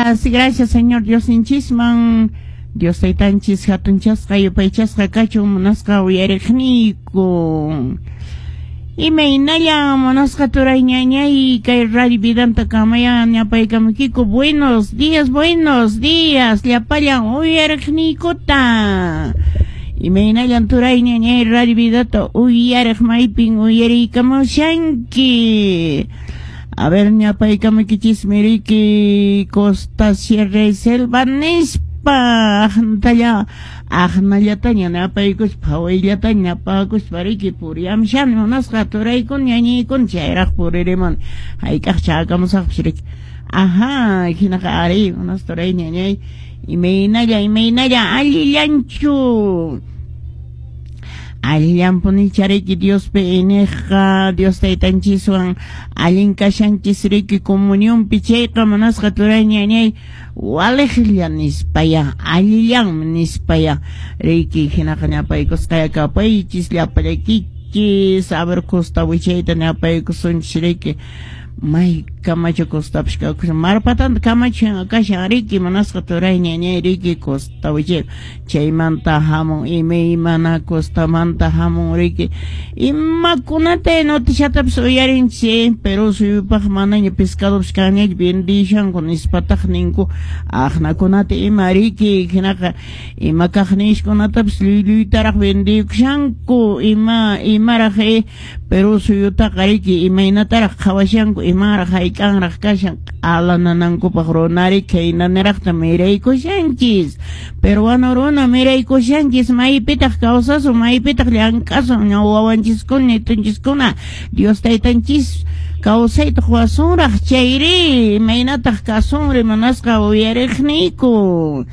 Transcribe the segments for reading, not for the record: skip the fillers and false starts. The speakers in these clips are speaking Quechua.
Gracias, gracias, Señor Diosninchisman. Dios taytanchis hatunchasqa yupaychasqa kachun, munasqa uyariqniyku. Imaynalla, munasqa turay ñañay, kay Radio Vidanta kamayan ñapaykamukiku. Buenos días, buenos días, llapallan uyariqniykuta. Imaynallan, turay ñañay, Radio Vidata uyariq, maypin uyariykamushanki? A ver, ñapaykamukichismi riki Costa, Sierra y Selva nispa, aqnatalla aqnallataña napaykuspa, phawayllataña napakuspa riki puriyamshani, munasqa turaykuna ñañaykuna, chayraq puririmun, hayk'aq chakamusaqpis riki. Ajá, hinaqa ari, munasqa turay ñañay, imaynalla, imaynalla, allillanchu? Allillanpunicha riki Diospi iñiqqa, Dios taytanchiswan allin kashanchis riki comunionpi chayqa, munasqa turay ñañay, waliqlla nispaya, allillanmi nispaya riki. Hinaqa ñapaykusqaya kapaychis llapallaykichis. A ver, costa wichayta ñapaykusunchis riki, may kamacho costapish kakushan, marpatanta kamacho kashan riki, munasqa turay ñañay riki, costa wichay. Chaymanta hamun imaymana, costamanta hamun riki imakunata, noticiatapis uyarinchis. Perú suyupaq manaña pescadopis kanñachu, vendishanku nispataq ninku aqnakunata ima riki. Hinaqa ima kaqnishkunatapis lluylluytaraq vendiykushanku, ima imaraq Perú suyutaqa riki imaynataraq qhawashanku, imaraq hayk'anraq kashan q'alananankupaq runari khaynaniraqta miraykushanchis, peruano runa miraykushanchis. Maypitaq kawsasun, maypitaq llank'asun wawanchiskuna, nietonchiskuna? Dios taytanchis kawsayta quwasunraq chayri, imaynataq kasunri, munasqa uyariqniyku?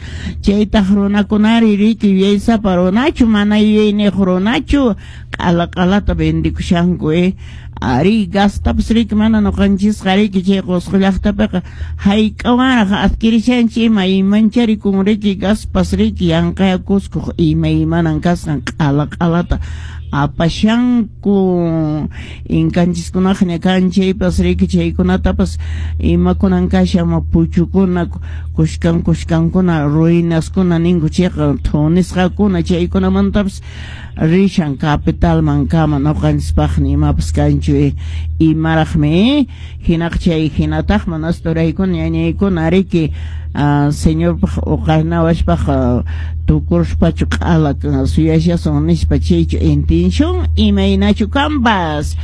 Chaytaq runakunari riki yuyaysapa runachu, mana yuyayniyuq runachu, q'ala q'alata vendikushanku. Ari, gastapas riki mana ñuqanchisqa riki chay Qusqu llaqtapiqa hayk'awanraq adquirishanchik, ima imancharikun riki gaspas riki, yanqaya Cuscoq imaymanan kasqan q'ala q'alata apashanku. Inkanchiskunaqa ña kan chaypas riki, chaykunatapas imakunan kashan, puchukuna, kushkan kushkankuna, ruinaskuna ninku chayqa, thunisqakuna, chaykunamantapas rishan capitalman kama. Ñuqanchispaqni imapas kanchu, imaraqmi? Hinaqa chay hinataq, manas turaykuna ñañaykuna riki, Señorpaq uqarnawashpaq tukuruspachu q'ala suyashasun nispa, chaychu intención, imaynachu kanpas?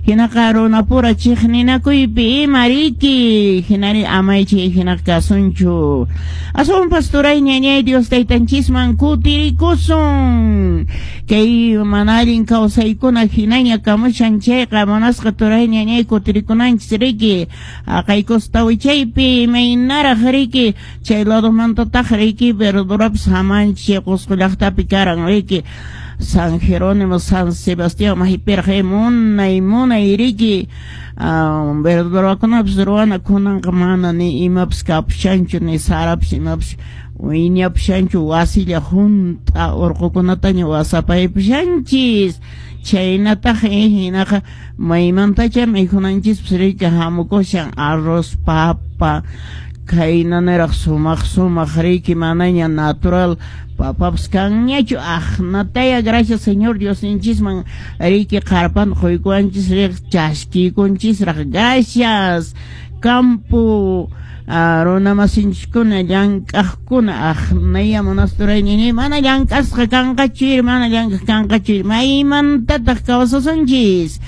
Hinaqa runapura chiqninakuypi ima riki, hinari amay chay hinaqa kasunchu. Aswanpas, turay ñañay, Dios taytanchisman kutirikusun. Kay mana allin kawsaykuna hinaña kamushan chayqa, munasqa turay ñañay, kutirikunanchis riki. Haqay costa wichaypi imaynaraq riki, chay ladomantataq riki verdurapas hamanchis, chay Qusqu llaqtapi karan riki San Jerónimo, San Sebastián, maypiraq munay munay riki verdurakunapas ruwana. Kunanqa mana ni imapas kapushanchu, ni sarapas imapas wiñapushanchu, wasilla hunt'a, urqukunataña wasapaypushanchis. Chaynataq hinaqa maymantacha mikhunanchispas riki hamukushan arroz, papa, khaynaniraq sumaq sumaq riki, manaña natural papapas kanñachu. Aqnataya gracias Señor Diosninchisman riki, qarpanta quykuwanchis riq, chaskiykunchisraq. Gracias campo runamasinchiskuna, llank'aqkuna. Aqnaya, munasturayñini, mana llank'asqa kanqachu, mana llank'aq kanqachu, maymantataq kawsasunchis?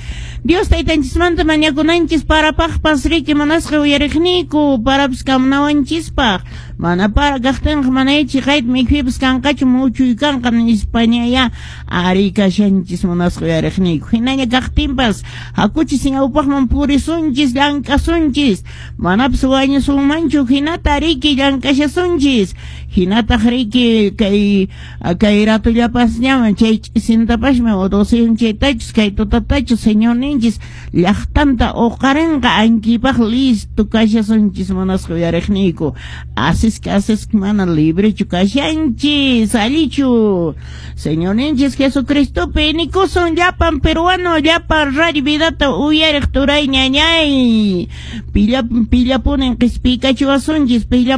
Dios taytanchismanta mañakunanchis parapaqpas riki, munasqa uyariqniyku, parapas kamunawanchispaq. Mana para kaqtinqa manay chiqayta mikhuypas kanqachu, muchuy kanqa nispañaya ari kashanchis, munasqa uyariqniyku. Hinaña kaqtinpas hakuchis ñawpaqman, purisunchis, llank'asunchis, manapas wañusunmanchu hinata riki, llank'ashasunchis. Hinataq riki kay kay ratullapas ñaman chay ch'isintapashmi o chaytachus kay tutatachus Señorninchis llaqtanta uqarinqa, ankipaq listo kashasunchis, munasqa uyariqniyku. Asisqa asisqa mana librechu kashanchis, allichu? Señorninchis Jesucristopi nikusun llapan peruano, llapan Radio Vidata uyariq turay ñañay. Pilla pillapunin qispiykachiwasunchis, pilla.